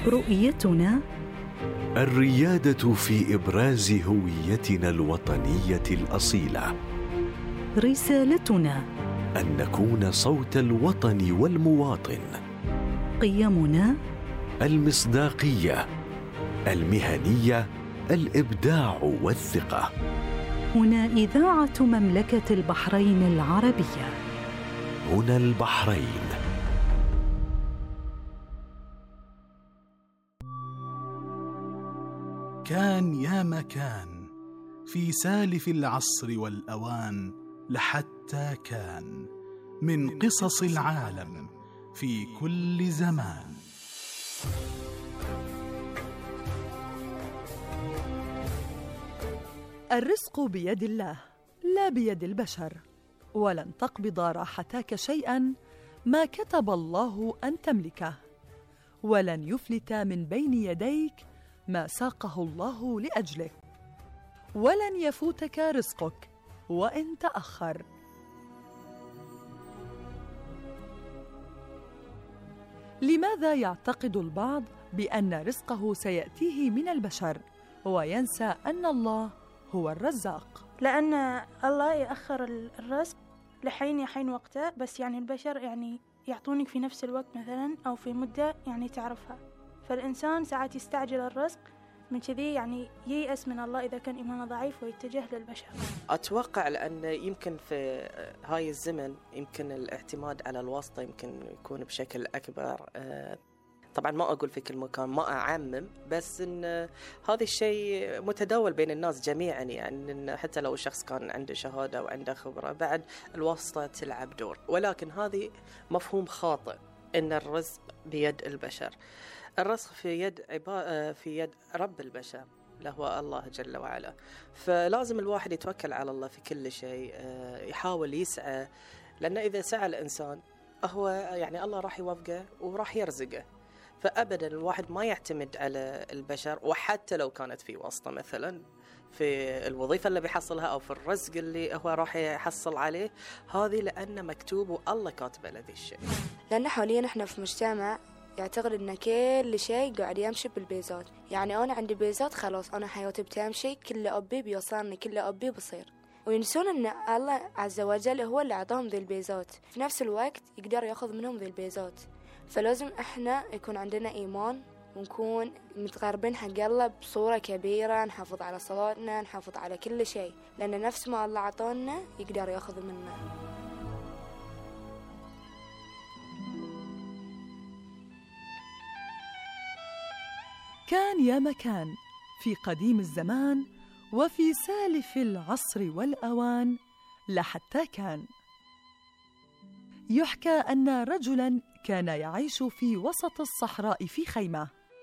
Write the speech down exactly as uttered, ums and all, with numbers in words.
رؤيتنا الريادة في إبراز هويتنا الوطنية الأصيلة. رسالتنا أن نكون صوت الوطن والمواطن. قيمنا المصداقية، المهنية، الإبداع والثقة. هنا إذاعة مملكة البحرين العربية. هنا البحرين. كان يا مكان في سالف العصر والأوان لحتى كان من قصص العالم في كل زمان. الرزق بيد الله لا بيد البشر، ولن تقبض راحتك شيئا ما كتب الله أن تملكه، ولن يفلت من بين يديك ما ساقه الله لأجلك، ولن يفوتك رزقك وإن تأخر. لماذا يعتقد البعض بأن رزقه سيأتيه من البشر وينسى أن الله هو الرزاق؟ لأن الله يأخر الرزق لحين يحين وقته، بس يعني البشر يعني يعطونك في نفس الوقت مثلا أو في مدة يعني تعرفها، فالإنسان ساعات يستعجل الرزق، من كذي يعني ييأس من الله إذا كان إيمانه ضعيف ويتجه للبشر. أتوقع لأن يمكن في هاي الزمن يمكن الاعتماد على الواسطة يمكن يكون بشكل أكبر. طبعا ما أقول في كل مكان، ما أعمم، بس إن هذا الشيء متداول بين الناس جميعا، يعني إن حتى لو الشخص كان عنده شهادة وعنده خبرة بعد الواسطة تلعب دور، ولكن هذه مفهوم خاطئ إن الرزق بيد البشر. الرزق في يد عبا... في يد رب البشر اللي هو الله جل وعلا، فلازم الواحد يتوكل على الله في كل شيء، يحاول يسعى، لأن إذا سعى الإنسان هو يعني الله راح يوفقه وراح يرزقه. فأبدا الواحد ما يعتمد على البشر، وحتى لو كانت في واسطة مثلا في الوظيفة اللي بيحصلها أو في الرزق اللي هو راح يحصل عليه، هذه لأن مكتوب والله كاتب له ذي الشيء. لأن حاليا احنا في مجتمع يعتقد ان كل شيء قاعد يمشي بالبيزات، يعني انا عندي بيزات خلاص انا حياتي بتمشي، كل ابي بيوصلني، كل ابي بصير، وينسون ان الله عز وجل هو اللي اعطاهم ذي البيزات، في نفس الوقت يقدر ياخذ منهم ذي البيزات. فلازم احنا يكون عندنا ايمان ونكون متقربين حق الله بصورة كبيرة، نحافظ على صلاتنا، نحافظ على كل شيء، لان نفس ما الله عطانا يقدر ياخذ منا. كان يا مكان في قديم الزمان وفي سالف العصر والأوان لحتى كان. يحكى أن رجلاً كان يعيش في وسط الصحراء في خيمة،